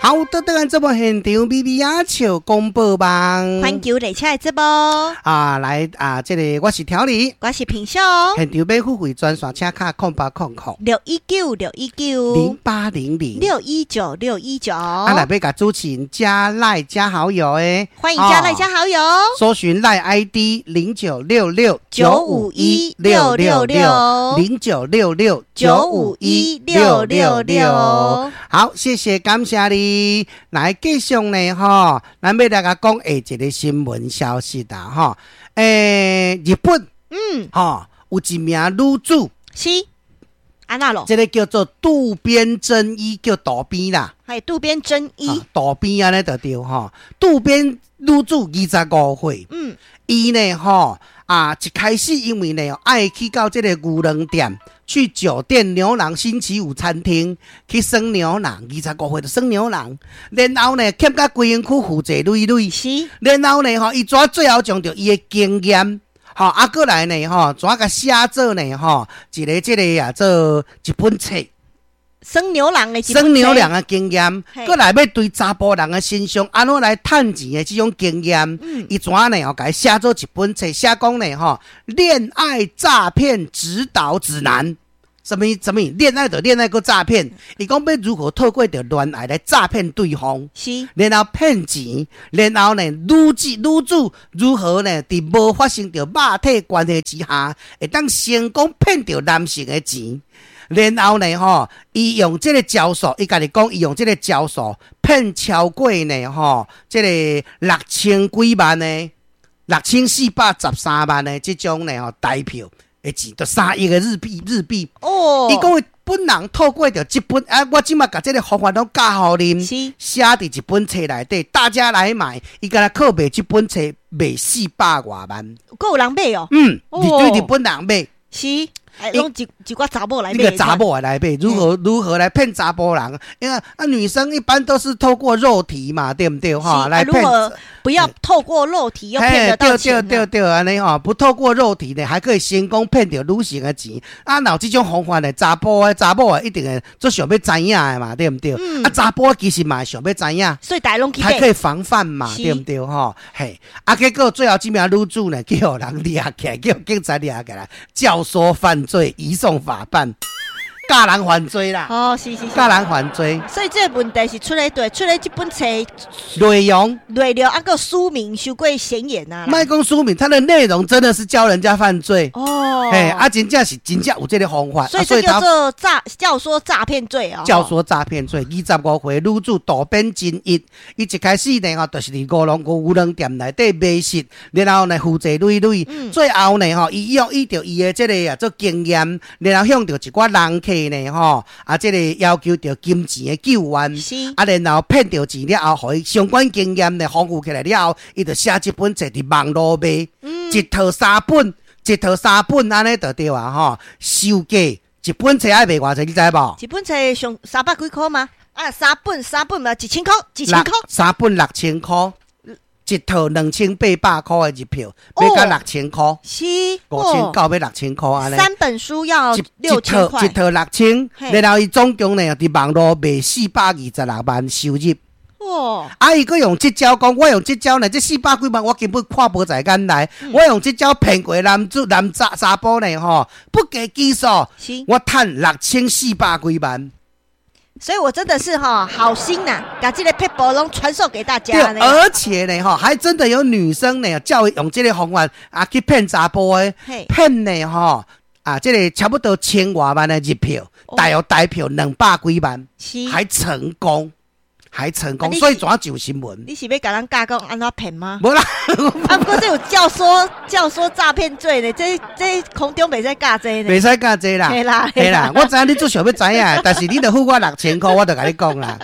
好，倒轉來節目現場，咪咪仔笑廣播網，環球列車的節目。啊，來啊，這個我是調理，我是平秀。現場欲付費專線，請敲0800 619 619 0800 619 619。啊，若欲共主持人加 LINE 加好友的，歡迎加 LINE 加好友，搜尋 LINE ID 0966 951666 0966 951666。好，謝謝，感謝你。來繼續呢，吼，咱欲來共講下一個新聞消息啦，吼。日本，吼，有一名女子，是，按怎囉？這個叫做渡邊真一，叫渡邊啦，係渡邊真一，渡邊按呢就對吼。渡邊女子25歲，伊呢，吼，啊，一開始因為呢，愛去到這個牛郎店。去酒店牛郎星期五餐廳去耍牛郎，25歲就耍牛郎，然後呢，欠甲規身軀負債累累。然後呢，吼，伊怎最後將著伊的經驗，吼，啊，閣來呢，吼，怎共寫做呢，吼，一個這個啊，做一本冊。耍牛郎的耍牛郎的經驗，閣來欲對查埔人的身上按怎來趁錢的這種經驗，伊怎呢？吼，共伊寫做一本冊，寫講呢，吼，戀愛詐騙指導指南。啥物啥物戀愛就戀愛閣詐騙，伊講欲如何透過著戀愛來詐騙對方，然後騙錢，然後呢，女子女子如何呢？佇無發生著肉體關係之下，會當成功騙著男性的錢。然後呢，吼，伊用這個招數，伊家己講，伊用這個招數騙超過呢，吼，這個六千幾萬的，6413萬的這種呢，吼，台票的錢，就3億的日幣，日幣。伊講伊本人透過著這本啊，我這馬共這個方法攏教予恁，寫佇一本冊內底，大家來買。伊敢若靠賣這本冊賣四百外萬。閣有人買哦？嗯，對日本人買。是。攏一一寡查某來買，那個查某來買，如何來騙查埔人？因為啊，女生一般都是透過肉體嘛，對毋對？哈，來騙。不要透過肉體又騙得到錢。對對對對，按呢吼，不透過肉體呢，還可以成功騙著女性的錢。啊，若有這種方法呢，查埔的查某的一定會足想欲知影的嘛，對毋對？啊，查埔其實嘛會想欲知影，所以大家攏去買，還可以防範嘛，對毋對？吼，嘿，啊，結果最後這名女子呢，叫人掠起來，叫警察掠起來，教唆犯罪，移送法辦，教人犯罪啦。哦，是是是，教人犯罪。所以這個問題是出咧對，出咧這本冊內容，內容啊，閣書名傷過顯眼啊。莫講書名，它的內容真的是教人家犯罪。哦，嘿，啊，真正是真正有這個方法。所以這叫做詐教唆詐騙罪哦。教唆詐騙罪，25歲女子渡邊真一，伊一開始呢，吼，就是佇牛郎牛郎店內底賣色，然後呢負債累累，最後呢，吼，伊用依著伊的這個啊做經驗，然後向著一寡人客呢，吼，啊，這個要求著金錢的救援，啊，然後騙著錢了後，予伊相關經驗呢豐富起來了後，伊就寫這本冊佇網路賣，一套三本，一套三本按呢就對啊，吼，售價一本冊愛賣偌濟，你知無？一本冊上三百幾箍嗎？啊，三本三本嘛，1000箍，1000箍。三本6000箍，一套2800箍的日票，買到六千箍，是5900欲6000箍按呢。三本書要6000塊，一套六千，然後伊總共呢，佇網路賣426萬收入。啊！伊閣用這招講，我用這招呢，這四百幾萬我根本看無在眼內。我用這招騙過男子男查查埔呢，吼，不計其數，我趁6400幾萬。所以我真的是哈好心吶，共這個撇步攏傳授給大家。對，而且呢，吼，還真的有女生呢，教用這個方法啊去騙查埔的，騙呢，吼，啊，這個差不多千外萬的日票，大約台票200幾萬，還成功。還成功，所以怎上新聞？你是欲共人教講按怎騙嗎？無啦，啊，毋過這有教唆詐騙罪呢，這這空中袂使教這呢，袂使教這啦，嘿啦，嘿啦，我知影你足想欲知影，但是你著付我六千箍，我就共你講啦。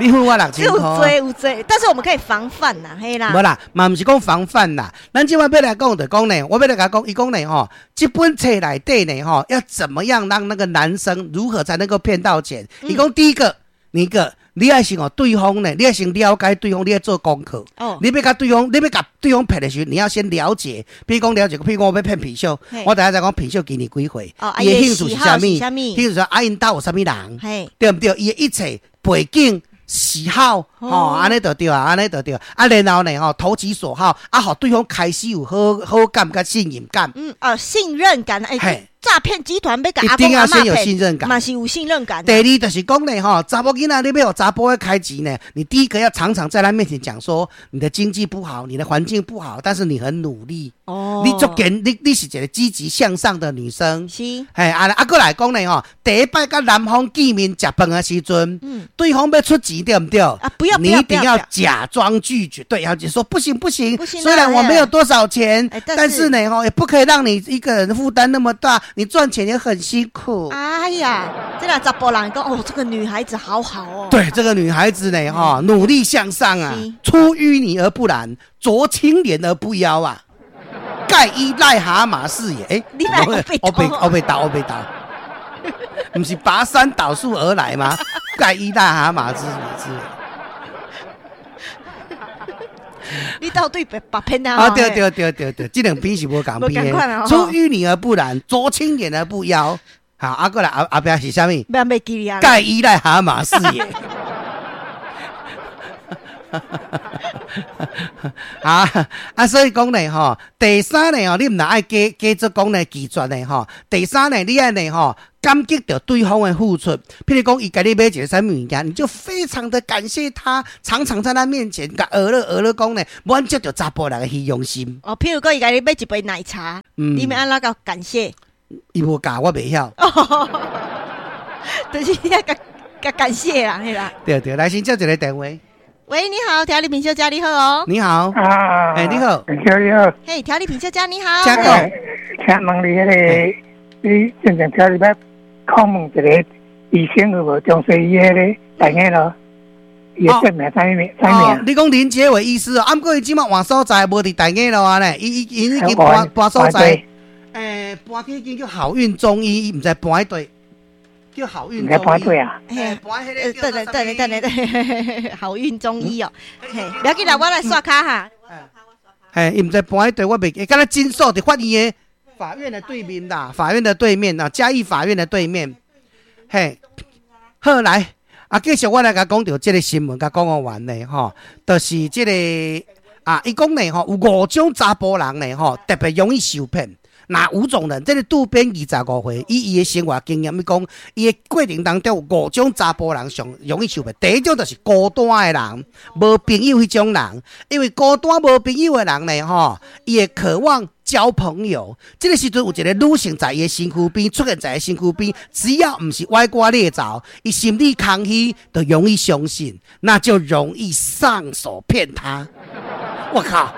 你付我六千箍，有罪有罪，但是我們可以防範啦，嘿啦。無啦，嘛毋是講防範啦，咱這擺欲來講就講呢，我欲來共講，伊講呢吼，這本冊內底呢吼，要怎麼樣讓那個男生如何才能夠騙到錢？伊講第一個，你個。你愛先予對方呢，你愛先了解對方，你愛做功課。你欲共對方，你欲共對方騙的時陣，你要先了解。比如講了解，譬如講我欲騙品秀，我等下再講品秀今年幾歲，伊的興趣是啥物？興趣說啊，𪜶兜有啥物人？對毋對？伊的一切背景。喜好，吼，按呢就對啊，按呢就對。啊，然後呢，吼，投其所好，啊，予對方開始有好好感佮信任感。嗯，哦，信任感，欸，詐騙集團欲共一定要先有信任感，嘛是有信任感。第二就是講呢，吼，查某囡仔你欲予查埔開錢呢，你第一個要常常在他面前講說，你的經濟不好，你的環境不好，但是你很努力。你足堅，你是一個積極向上的女生。嘿，啊啊，閣來講呢，吼，第一擺佮男方見面食飯的時陣，對方欲出錢對毋對？啊，不要，你一定要假裝拒絕，對，要說不行不行，雖然我沒有多少錢，但是呢，吼，也不可以讓你一個人負擔那麼大。你賺錢也很辛苦。哎呀，這若查埔人講哦，這個女孩子好好哦。對，這個女孩子呢，哈，努力向上啊，出淤泥而不染，濯清漣而不妖啊，蓋伊癩蛤蟆是也。欸，我被打，我被打，毋是拔山倒樹而來嗎？蓋伊癩蛤蟆之之。你到底被白騙啊？啊，對對對對對，這兩篇是無仝篇的。出淤泥而不染，濯清漣而不妖。好，啊，閣來後後壁是啥物？蓋伊癩蛤蟆是也。啊啊，所以講呢，吼，第三呢，吼，你毋若愛假假做講呢拒絕呢，吼，第三呢，你愛呢，吼，感激著對方的付出。譬如講，伊共你買一个啥物物件，你就非常的感謝他，常常在他面前共呵咾呵咾講呢，滿足著查埔人的虛榮心。哦，譬如講，伊共你買一杯奶茶，你欲按怎共感謝？伊無教，我袂曉。就是你愛共共感謝啦，嘿啦。對對，來先接一个電話。喂，你好，調理品小姐你好哦。你好啊，欸，你好，你好。嘿，調理品小姐你好。請講。請問你彼个，你之前聽你欲訪問一个醫生有無？中西醫彼个大雅路，伊的姓名啥物名？啥名？你講林杰偉醫師哦，啊，毋過伊這馬換所在，無佇大雅路啊咧，伊伊已經搬搬所在，欸，搬去彼間叫好運中醫，伊毋知搬佇佗。叫好運中醫啊！嘿，等等等等等，好運中醫哦，嘿，不要緊啦，我來刷卡哈。嘿，伊毋知搬佇佗，我袂記，敢若診所佇法院的法院的對面啦，法院的對面啦，嘉義法院的對面。嘿，好來，啊，繼續我來共講著這个新聞，共講完咧吼，就是這个啊，伊講咧吼，有五種查埔人咧吼，特別容易受騙。哪五種人？這个渡邊25歲，以伊的生活經驗，伊講，伊的過程當中有五種查埔人上容易受騙。第一種就是孤單的人，無朋友彼種人，因為孤單無朋友的人呢，吼，伊會渴望交朋友。這个時陣有一个女性在伊的身軀邊出現在伊身軀邊，只要毋是歪瓜裂棗，伊心裡空虛，就容易相信，那就容易上手騙他。我靠！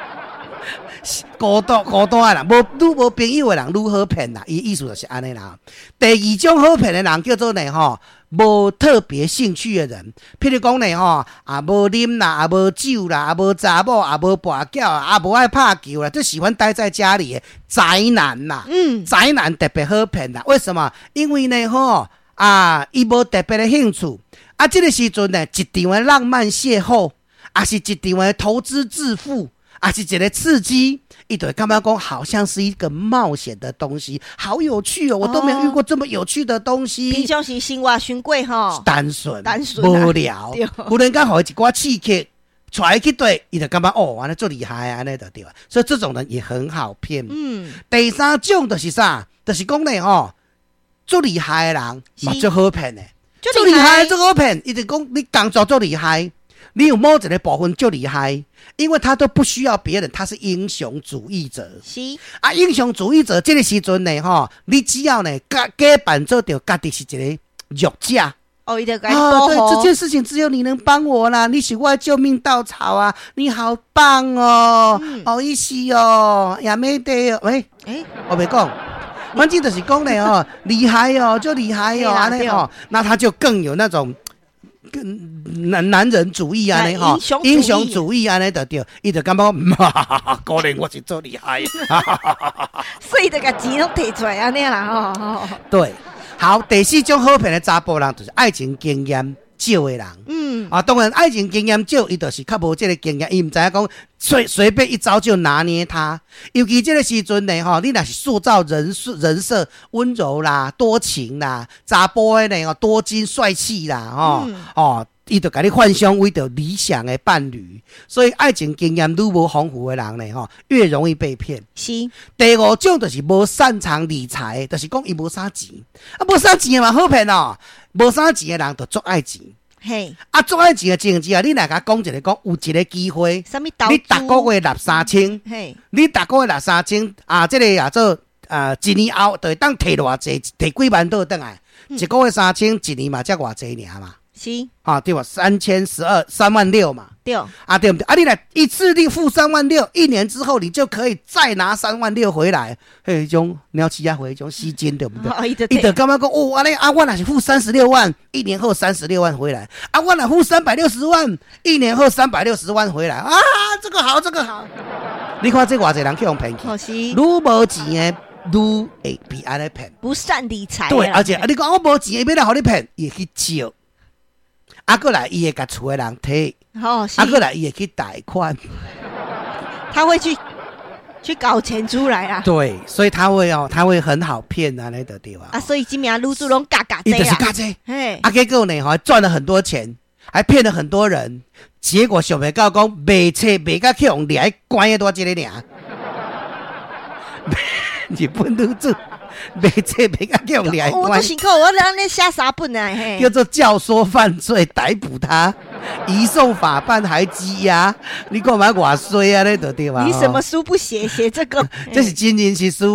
孤單孤單的人，無愈無朋友的人愈好騙啦。伊意思就是按呢啦。第二種好騙的人叫做呢吼，無特別興趣的人。譬如講呢吼，啊無啉啦，啊無酒啦，啊無查某，啊無跋筊，啊無愛拍球啦，就喜歡待在家裡的宅男啦。嗯，宅男特別好騙啦。為什麼？因為呢吼，啊伊無特別的興趣。啊，這个時陣呢，一場的浪漫邂逅，啊是一場的投資致富。啊，是一个刺激，伊就會感覺講好像是一個冒險的東西，好有趣哦！我都沒有遇過這麼有趣的東西。平常時生活傷過吼，單純、單純、無聊，忽然間予伊一寡刺激，帶伊去對，伊就感覺哦，按呢足厲害啊，按呢就對啊。所以這種人也很好騙。嗯，第三種就是啥？就是講咧吼，足厲害的人嘛足好騙的，足厲害足好騙。伊就講你工作足厲害。你有某一个部分足厲害，因為他都不需要別人，他是英雄主義者。是啊，英雄主義者這个時陣呢，吼，你只要呢假假扮做著家己是一个弱者。哦，伊就共你保護。對，這件事情只有你能幫我啦，你是我的救命稻草啊！你好棒哦，好意思哦，也沒得哦，喂，欸，我袂講，反正就是講咧哦，厲害哦，就厲害哦，按呢吼，那他就更有那種。男人主義按呢吼，英雄主義按呢就對，伊就感覺講，果然我是足厲害，所以就共錢攏提出來按呢啦吼。對，好，第四種好騙的查埔人就是愛情經驗少的人。嗯，啊，當然愛情經驗少，伊就是較無這个經驗，伊毋知影講隨隨便一招就拿捏他。尤其這个時陣呢，吼，你若是塑造人設人設溫柔啦、多情啦、查埔的呢，多金帥氣啦，吼，哦。伊就共你幻想為著理想的伴侶，所以愛情經驗愈無豐富的人呢，吼，越容易被騙。第五種就是無擅長理財，就是講伊無啥錢，啊，無啥錢的嘛好騙哦，無啥錢的人就足愛錢。啊，足愛錢的情形之下，你若共講一个講有一个機會，啥物投你逐個月納三千，你逐個月納三千啊，這个啊做啊，一年後就會當提偌濟，提幾萬倒轉來，一個月三千，一年嘛才偌濟爾嘛。啊，對吧？3012，3萬6嘛。對。啊，對毋對？啊，你來一次你付三萬六，一年之後你就可以再拿三萬六回來。彼種鳥鼠仔回，彼種吸金，對毋對？伊就伊就感覺講，哦，按呢啊，我若是付36萬，一年後三十六萬回來。啊，我若付360萬，一年後三百六十萬回來。啊，這個好，這個好。你看這偌濟人去予騙去，愈無錢的愈會被按呢騙。不善理財。對，而且啊，你講我無錢，伊欲來予你騙，伊會去借。啊，閣來伊會共厝的人提，啊，閣來伊會去貸款，他會去搞錢出來啊。對，所以他會哦，他會很好騙啊，那個對吧？啊，所以這名女主攏教教伊就是教這，啊，結果呢，吼，賺了很多錢，還騙了很多人，結果想袂到講賣冊賣甲去予掠關的佇這个爾。日本女子賣冊賣甲去予掠關，我都辛苦，我按呢寫三本啊，叫做教唆犯罪，逮捕他，移送法辦，還羈押。你看嘛偌衰啊，呢就對吧？你什麼書不寫，寫這個？這是真人實事哦。